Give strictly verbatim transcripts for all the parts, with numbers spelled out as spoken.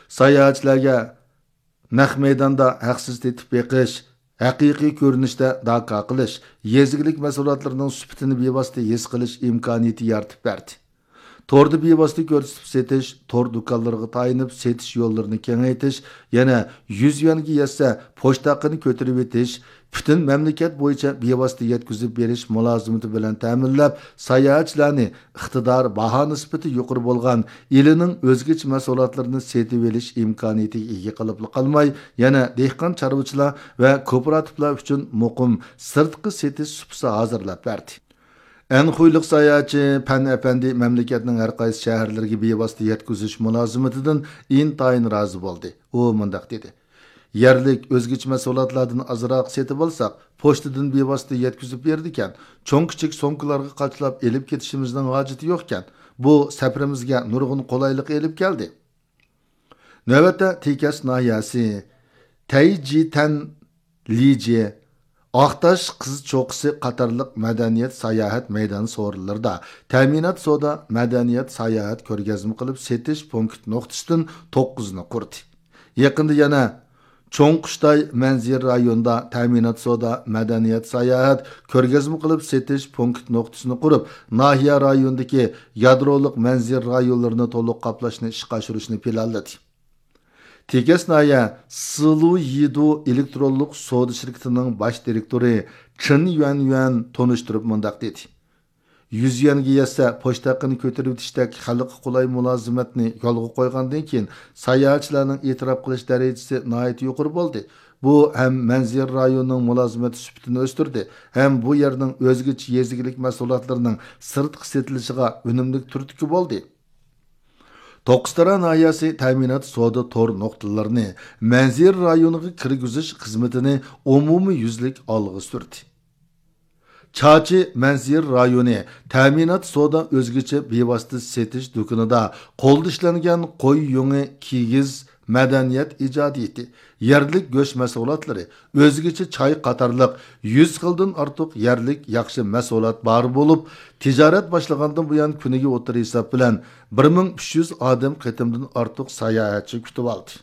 ساياھەتچىلەرگە نەق مەيداندا ھەقسىز تېتىپ بېقىش، ھەقىقىي كۆرۈنۈشتە داكا قىلىش، يېزا ئىگىلىك مەھسۇلاتلىرىنىڭ سۈپىتىنى بىۋاسىتە ھېس قىلىش ئىمكانىيىتى يارىتىپ بەردى. توردا بىۋاسىتە كۆرسىتىپ سېتىش، تور دۇكانلىرىغا تايىنىپ سېتىش يوللىرىنى كېڭەيتىش، يەنە يۈز يۈەنگە يەتسە پوچتا ھەققىنى كۆتۈرۈۋېتىش، پۈتۈن مەملىكەت بويىچە بىۋاسىتە يەتكۈزۈپ بېرىش مۇلازىمىتى بىلەن تەمىنلەپ، ساياھەتچىلەرنى ئىقتىدار، باھا نىسبىتى يۇقىرى بولغان ئىلىنىڭ ئۆزگىچە مەھسۇلاتلىرىنى سېتىۋېلىش ئىمكانىيىتىگە ئىگە قىلىپلا قالماي، يەنە دېھقان، چارۋىچىلار ۋە كوپىراتىپلار ئۈچۈن مۇقىم سىرتقى سېتىش سۇپىسى ھازىرلاپ بەردى. ئەنخۇيلۇق ساياھەتچى پەن ئەپەندى مەملىكەتنىڭ ھەر قايسى شەھەرلىرىگە بىۋاسىتە يەتكۈزۈش مۇلازىمىتىدىن ئىنتايىن رازى بولدى. ئۇ مۇنداق دېدى: يەرلىك ئۆزگىچە مەھسۇلاتلاردىن ئازراق سېتىۋالساق، پوچتىدىن بىۋاسىتە يەتكۈزۈپ بېرىدىكەن، چوڭ كىچىك سومكىلارغا قاچىلاپ ئېلىپ كېتىشىمىزنىڭ ھاجىتى يوقكەن. بۇ سەپىرىمىزگە نۇرغۇن قولايلىق ئېلىپ كەلدى. نۆۋەتتە تېكەس ناھىيەسى تەيجىتەن، لىجى، ئاقتاش قىز چوققىسى قاتارلىق مەدەنىيەت ساياھەت مەيدان سورۇنلىرىدا تەمىنات سودا مەدەنىيەت ساياھەت كۆرگەزمە قىلىپ سېتىش پونكىت نۇقتىسىدىن توققۇزنى قۇردى. يېقىندا يەنە چوڭ قۇشتاي مەنزىرە رايونىدا تەمىنات سودا مەدەنىيەت ساياھەت كۆرگەزمە قىلىپ سېتىش پونكىت نۇقتىسىنى قۇرۇپ، ناھىيە رايونىدىكى يادرولۇق مەنزىرە رايونلىرىنى تولۇق قاپلاشنى ئىشقا ئاشۇرۇشنى پىلانلىدى. تېكەس ناھىيە سىلۇ يىدۇ ئېلېكترونلۇق سودا شىركىتىنىڭ باش دىرېكتورى چېن يۈەنيۈەن تونۇشتۇرۇپ مۇنداق دېدى: يۈز يۈەنگە يەتسە پوچتا ھەققىنى كۆتۈرۈۋېتىشتەك خەلققە قولاي مۇلازىمەتنى يولغا قويغاندىن كېيىن، ساياھەتچىلەرنىڭ ئېتىراپ قىلىش دەرىجىسى ناھايىتى يۇقىرى بولدى. بۇ ھەم مەنزىرە رايونىنىڭ مۇلازىمەت سۈپىتىنى ئۆستۈردى، ھەم بۇ يەرنىڭ ئۆزگىچە يېزا ئىگىلىك مەھسۇلاتلىرىنىڭ سىرتقا سېتىلىشىغا ئۈنۈملۈك تۈرتكە بولدى. توققۇزتارا ناھىيەسى تەمىنات سودا تور نۇقتىلىرىنى مەنزىرە رايونىغا كىرگۈزۈش خىزمىتىنى ئومۇميۈزلۈك ئالغا سۈردى. چاچى مەنزىرە رايونى تەمىنات سودا ئۆزگىچە بىۋاسىتە سېتىش دۇكىنىدا قولدا ئىشلەنگەن قوي يۇڭى، كىگىز، مەدەنىيەت ئىجادىيىتى، يەرلىك گۆش مەھسۇلاتلىرى، ئۆزگىچە چاي قاتارلىق يۈز خىلدىن ئارتۇق يەرلىك ياخشى مەھسۇلات بار بولۇپ، تىجارەت باشلىغاندىن بۇيان كۈنىگە ئوتتۇرا ھېساب بىلەن بىر مىڭ ئۈچ يۈز ئادەم قېتىمدىن ئارتۇق ساياھەتچى كۈتۈۋالدى.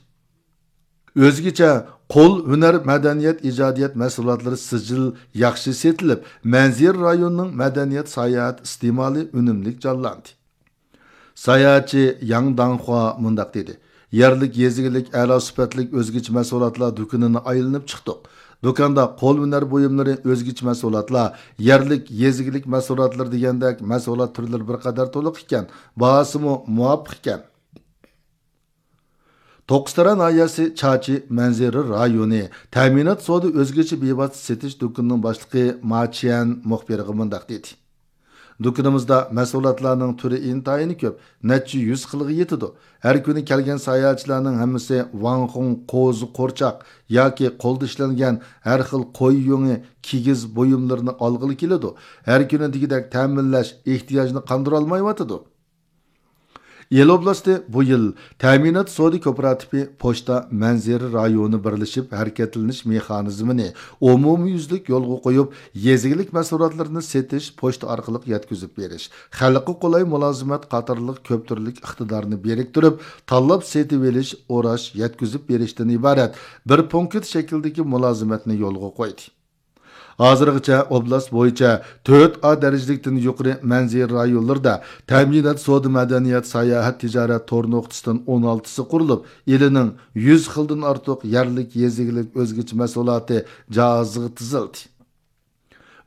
ئۆزگىچە قول ھۈنەر مەدەنىيەت ئىجادىيەت مەھسۇلاتلىرى سىجىل ياخشى سېتىلىپ، مەنزىرە رايونىنىڭ مەدەنىيەت ساياھەت ئىستېمالى ئۈنۈملۈك جانلاندى. ساياھەتچى ياڭ داڭخۇا مۇنداق دېدى: يەرلىك يېزا ئىگىلىك ئەلا سۈپەتلىك ئۆزگىچە مەھسۇلاتلار دۇكىنىنى ئايلىنىپ چىقتۇق. دۇكاندا قول ھۈنەر بۇيۇملىرى، ئۆزگىچە مەھسۇلاتلار، يەرلىك يېزا ئىگىلىك مەھسۇلاتلىرى دېگەندەك مەھسۇلات تۈرلىرى بىر قەدەر تولۇق ئىكەن، باھاسىمۇ مۇۋاپىق ئىكەن. توققۇزتارا ناھىيەسى چاچى مەنزىرە رايونى تەمىنات سودا ئۆزگىچە بىۋاسىتە سېتىش دۇكىنىنىڭ باشلىقى ما چيەن مۇخبىرغا مۇنداق دېدى: دۇكىنىمىزدا مەھسۇلاتلارنىڭ تۈرى ئىنتايىن كۆپ، نەچچە يۈز خىلغا يېتىدۇ. ھەر كۈنى كەلگەن ساياھەتچىلەرنىڭ ھەممىسى ۋاڭخۇڭ، قوزا قورچاق ياكى قولدا ئىشلەنگەن ھەر خىل قوي يۇڭى، كىگىز بۇيۇملىرىنى ئالغىلى كېلىدۇ. ھەر كۈنى دېگۈدەك تەمىنلەش ئېھتىياجنى قاندۇرالمايۋاتىدۇ. ئىلى ئوبلاستى بۇ يىل تەمىنات سودا كوپىراتىپى پوچتا مەنزىرە رايونى بىرلىشىپ ھەرىكەتلىنىش مېخانىزمىنى ئومۇميۈزلۈك يولغا قويۇپ، يېزا ئىگىلىك مەھسۇلاتلىرىنى سېتىش، پوچتا ئارقىلىق يەتكۈزۈپ بېرىش، خەلققە قولاي مۇلازىمەت قاتارلىق كۆپ تۈرلۈك ئىقتىدارنى بىرىكتۈرۈپ، تاللاپ سېتىۋېلىش، ئوراش، يەتكۈزۈپ بېرىشتىن ئىبارەت بىر پونكىت شەكلىدىكى مۇلازىمەتنى يولغا قويدى. ھازىرغىچە ئوبلاست بويىچە تۆت ئا دەرىجىلىكتىن يۇقىرى مەنزىرە رايونلىرىدا تەمىنات سودا مەدەنىيەت ساياھەت تىجارەت تور نۇقتىسىدىن ئون ئالتىسى قۇرۇلۇپ، ئىلىنىڭ يۈز خىلدىن ئارتۇق يەرلىك يېزا ئىگىلىك ئۆزگىچە مەھسۇلاتى جاھازىغا تىزىلدى.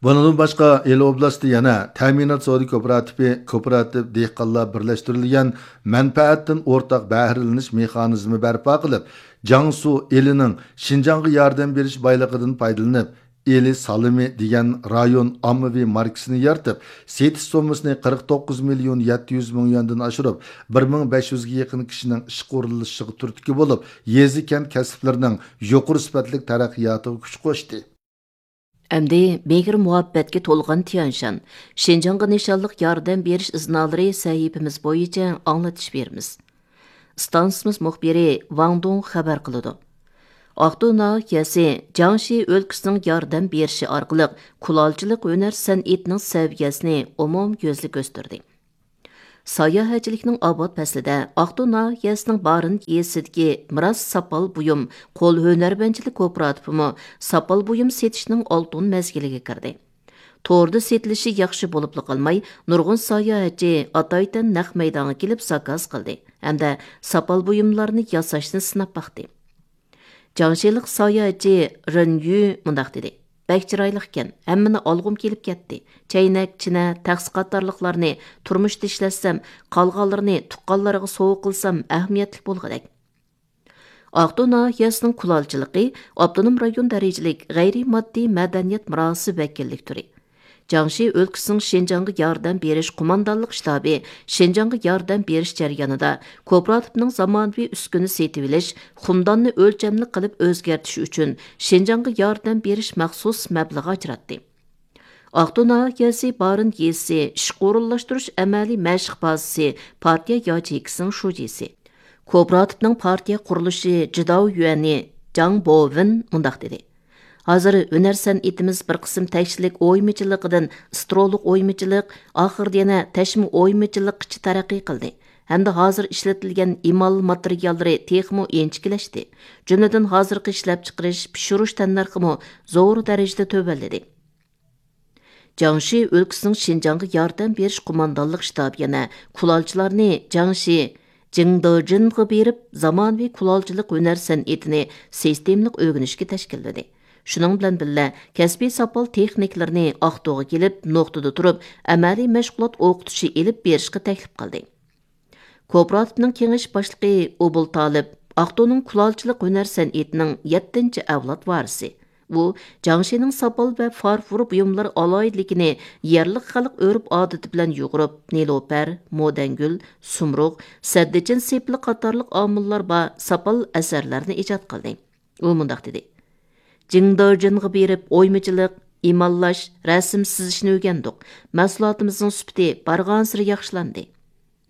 بۇنىڭدىن باشقا، ئىلى ئوبلاستى يەنە تەمىنات سودا كوپىراتىپى، كوپىراتىپ دېھقانلار بىرلەشتۈرۈلگەن مەنپەئەتتىن ئورتاق بەھرىلىنىش مېخانىزمى بەرپا قىلىپ، جياڭسۇ ئېلىنىڭ شىنجاڭغا ياردەم بېرىش بايلىقىدىن پايدىلىنىپ، ئىلى سالىمى دېگەن رايون ئاممىۋى ماركىسىنى يارىتىپ، سېتىش سوممىسىنى قىرىق توققۇز مىليون يەتتە يۈز مىڭ يۈەندىن ئاشۇرۇپ، بىر مىڭ بەش يۈزگە يېقىن كىشىنىڭ ئىشقا ئورۇنلىشىشىغا تۈرتكە بولۇپ، يېزا، كەنت كەسىپلىرىنىڭ يۇقىرى سۈپەتلىك تەرەققىياتىغا كۈچ قوشتى. ئەمدى مېھىر مۇھەببەتكە تولغان تيەنشان شىنجاڭغا نىشانلىق ياردەم بېرىش ئىزنالىرى سەھىپىمىز بويىچە ئاڭلىتىش بېرىمىز. ئىستانسىمىز مۇخبىرى ۋاڭ دۇڭ خەۋەر قىلىدۇ. ئاقتۇ ناھىيەسى جياڭشى ئۆلكىسىنىڭ ياردەم بېرىشى ئارقىلىق كۇلالچىلىق ھۈنەر سەنئىتىنىڭ سەۋىيەسىنى ئومۇميۈزلۈك ئۆستۈردى. ساياھەتچىلىكنىڭ ئاۋات پەسلىدە ئاقتۇ ناھىيەسىنىڭ بارىن يېزىسىدىكى مىراس ساپال بۇيۇم قول ھۈنەرۋەنچىلىك كوپىراتىپىمۇ ساپال بۇيۇم سېتىشنىڭ ئالتۇن مەزگىلىگە كىردى. توردا سېتىلىشى ياخشى بولۇپلا قالماي، نۇرغۇن ساياھەتچى ئاتايتەن نەق مەيدانغا كېلىپ زاكاز قىلدى ھەمدە ساپال بۇيۇملارنى ياساشنى سىناپ باقتى. جاڭشىلىق ساياھەتچى رېن يۈ مۇنداق دېدى: «بەك چىرايلىقكەن، ھەممىنى ئالغۇم كېلىپ كەتتى. چەينەك، چىنە، تەخسە قاتارلىقلارنى تۇرمۇشتا ئىشلەتسەم، قالغانلىرىنى تۇغقانلارغا سوۋغا قىلسام ئەھمىيەتلىك بولغۇدەك.» ئاقتۇ ناھىيەسىنىڭ كۇلالچىلىقى ئاپتونوم رايون دەرىجىلىك غەيرىي ماددىي مەدەنىيەت مىراسى ۋەكىللىك تۈرى، جياڭشى ئۆلكىسىنىڭ شىنجاڭغا ياردەم بېرىش قوماندانلىق شتابى شىنجاڭغا ياردەم بېرىش جەريانىدا كوپىراتىپنىڭ زامانىۋى ئۈسكۈنە سېتىۋېلىش، قۇمداننى ئۆلچەملىك قىلىپ ئۆزگەرتىش ئۈچۈن شىنجاڭغا ياردەم بېرىش مەخسۇس مەبلىغى ئاجراتتى. ئاقتۇ ناھىيەسى بارىن يېزىسى ئىشقا ئورۇنلاشتۇرۇش ئەمەلىي مەشىق بازىسى پارتىيە ياچېيكىسىنىڭ شۇجىسى، كوپىراتىپنىڭ پارتىيە قۇرۇلۇشى جىداۋ يۈەنى جاڭ بوۋېن مۇنداق دېدى: «ھازىر ھۈنەر سەنئىتىمىز بىر قىسىم تەكشىلىك ئويمىچىلىقىدىن ئىسترولۇق ئويمىچىلىق، ئاخىرىدا يەنە تەشمە ئويمىچىلىققىچە تەرەققىي قىلدى ھەمدە ھازىر ئىشلىتىلگەن ئېمال ماتېرىياللىرى تېخىمۇ ئىنچىكىلەشتى. جۈملىدىن ھازىرقى ئىشلەپچىقىرىش، پىشۇرۇش تەننەرخىمۇ زور دەرىجىدە تۆۋەنلىدى.» جياڭشى ئۆلكىسىنىڭ شىنجاڭغا ياردەم بېرىش قوماندانلىق شتابى يەنە كۇلالچىلارنى جياڭشى جىڭدېجىنغا بېرىپ، زامانىۋى كۇلالچىلىق ھۈنەر سەنئىتىنى سىستېمىلىق ئۆگىنىشكە تەشكىللىدى. شۇنىڭ بىلەن بىللە، كەسپىي ساپال تېخنىكلىرىنى ئاقتۇغا كېلىپ، نۇقتىدا تۇرۇپ ئەمەلىي مەشغۇلات ئوقۇتۇشى ئېلىپ بېرىشقا تەكلىپ قىلدى. كوپىراتىپنىڭ كېڭىشىش باشلىقى ئوبۇل تالىپ ئاقتۇنىڭ كۇلالچىلىق ھۈنەر سەنئىتىنىڭ يەتتىنچى ئەۋلاد ۋارىسى. ئۇ جياڭشىنىڭ ساپال ۋە فارفور بۇيۇملىرى ئالاھىدىلىكىنى يەرلىك خەلق ئۆرپ-ئادىتى بىلەن يۇغۇرۇپ، نېلۇپەر، مودەنگۈل، سۇمرۇغ، سەددىچىن سېپىلى قاتارلىق ئامىللار بار ساپال ئەسەرلەرنى ئىجاد قىلدى. ئۇ مۇنداق دېدى: «جىڭدېجىنغا بېرىپ ئويمىچىلىق، ئىماللاش، رەسىم سىزىشنى ئۆگەندۇق. مەھسۇلاتىمىزنىڭ سۈپىتى بارغانسېرى ياخشىلاندى.»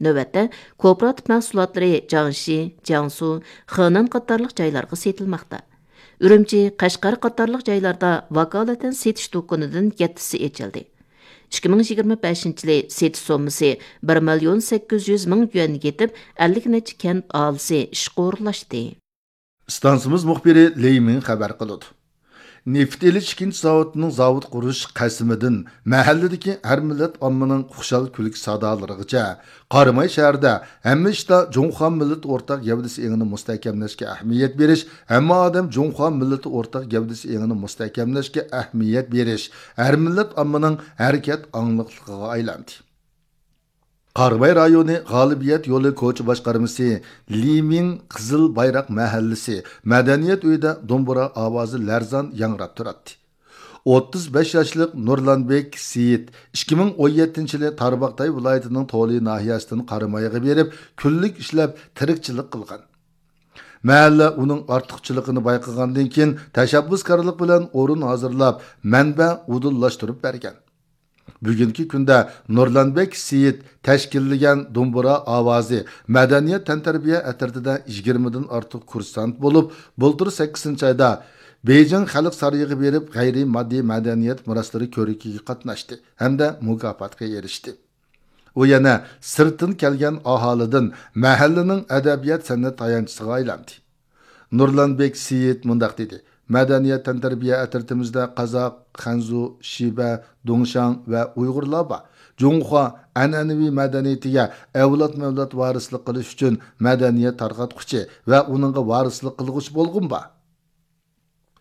نۆۋەتتە، كوپىراتىپ مەھسۇلاتلىرى جياڭشى، جياڭسۇ، خېنەن قاتارلىق جايلارغا سېتىلماقتا. ئۈرۈمچى، قەشقەر قاتارلىق جايلاردا ۋاكالىتەن سېتىش دۇكىنىدىن يەتتىسى ئېچىلدى. ئىككى مىڭ يىگىرمە بەشىنچى يىلى سېتىش سوممىسى بىر مىليون سەككىز يۈز مىڭ يۈەنگە يېتىپ، ئەللىك نەچچە كەنت ئاھالىسى ئىشقا ئورۇنلاشتى. ئىستانسىمىز مۇخبىرى لېي مىڭ خەۋەر قىلىدۇ. نېفىت ئېلىش ئىككىنچى زاۋۇتىنىڭ زاۋۇت قۇرۇش قەسىمىدىن مەھەللىدىكى ھەر مىللەت ئاممىنىڭ خۇشال كۈلكە سادالىرىغىچە، قاراماي شەھىرىدە ھەممە ئىشتا جۇڭخۇا مىللىتى ئورتاق گەۋدىسى ئېڭىنى مۇستەھكەملەشكە ئەھمىيەت بېرىش، ھەممە ئادەم جۇڭخۇا مىللىتى ئورتاق گەۋدىسى ئېڭىنى مۇستەھكەملەشكە ئەھمىيەت بېرىش ھەر مىللەت ئاممىنىڭ ھەرىكەت ئاڭلىقلىقىغا ئايلاندى. قاراماي رايونى غالىبىيەت يولى كوچا باشقارمىسى لى مىڭ قىزىل بايراق مەھەللىسى مەدەنىيەت ئۆيىدە دومبۇرا ئاۋازى لەرزان ياڭراپ تۇراتتى. ئوتتۇز بەش ياشلىق نۇرلانبېك سېيىت ئىككى مىڭ ئون يەتتىنچى يىلى تارباغاتاي ۋىلايىتىنىڭ تولى ناھىيەسىدىن قارامايغا بېرىپ، كۈنلۈك ئىشلەپ تىرىكچىلىك قىلغان. مەھەللە ئۇنىڭ ئارتۇقچىلىقىنى بايقىغاندىن كېيىن، تەشەببۇسكارلىق بىلەن ئورۇن ھازىرلاپ، مەنبە ئۇدۇللاشتۇرۇپ بەرگەن. بۈگۈنكى كۈندە نۇرلانبەك سېيىت تەشكىللىگەن دومبۇرا ئاۋازى مەدەنىيەت تەنتەربىيە ئەترىتىدە يىگىرمىدىن ئارتۇق كۇرسانت بولۇپ، بۇلتۇر سەككىزىنچى ئايدا بېيجىڭ خەلق سارىيىغا بېرىپ، غەيرىي ماددىي مەدەنىيەت مىراسلىرى كۆرىكىگە قاتناشتى ھەمدە مۇكاپاتقا ئېرىشتى. ئۇ يەنە سىرتتىن كەلگەن ئاھالىدىن مەھەللىنىڭ ئەدەبىيات-سەنئەت تايانچىسىغا ئايلاندى. نۇرلانبېك سېيىت مۇنداق دېدى: «مەدەنىيەت تەنتەربىيە ئەترىتىمىزدە قازاق، خەنزۇ، شىبە، دۇڭشاڭ ۋە ئۇيغۇرلار بار. جۇڭخۇا ئەنئەنىۋى مەدەنىيىتىگە ئەۋلادمۇ-ئەۋلاد ۋارىسلىق قىلىش ئۈچۈن مەدەنىيەت تارقاتقۇچى ۋە ئۇنىڭغا ۋارىسلىق قىلغۇچى بولغۇم بار.»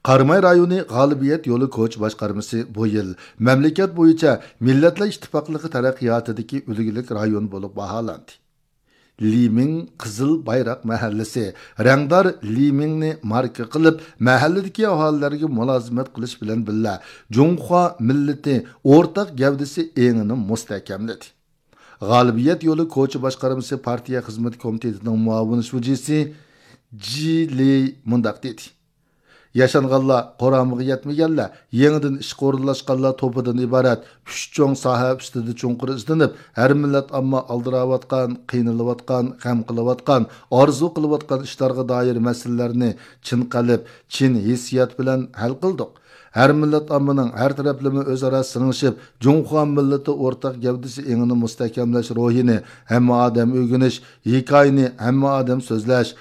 قاراماي رايونى غالىبىيەت يولى كوچا باشقارمىسى بۇ يىل مەملىكەت بويىچە مىللەتلەر ئىتتىپاقلىقى تەرەققىياتىدىكى ئۈلگىلىك رايون بولۇپ باھالاندى. لى مىڭ قىزىل بايراق مەھەللىسى رەڭدار لى مىڭنى ماركا قىلىپ، مەھەللىدىكى ئاھالىلەرگە مۇلازىمەت قىلىش بىلەن بىللە، جۇڭخۇا مىللىتى ئورتاق گەۋدىسى ئېڭىنى مۇستەھكەملىدى. غالىبىيەت يولى كوچا باشقارمىسى پارتىيە خىزمىتى كومىتېتىنىڭ مۇئاۋىن شۇجىسى جى لېي مۇنداق دېدى: ياشانغانلار، قۇرامىغا يەتمىگەنلەر، يېڭىدىن ئىشقا ئورۇنلاشقانلار توپىدىن ئىبارەت ئۈچ چوڭ ساھە ئۈستىدە چوڭقۇر ئىزدىنىپ، ھەر مىللەت ئامما ئالدىراۋاتقان، قىينىلىۋاتقان، غەم قىلىۋاتقان، ئارزۇ قىلىۋاتقان ئىشلارغا دائىر مەسىلىلەرنى چىن قەلب، چىن ھېسسىيات بىلەن ھەل قىلدۇق. ھەر مىللەت ئاممىنىڭ ھەر تەرەپلىمە ئۆزئارا سىڭىشىپ، جۇڭخۇا مىللىتى ئورتاق گەۋدىسى ئېڭىنى مۇستەھكەملەش روھىنى ھەممە ئادەم ئۆگىنىش، ھېكايىنى ھەممە ئادەم سۆزلەش،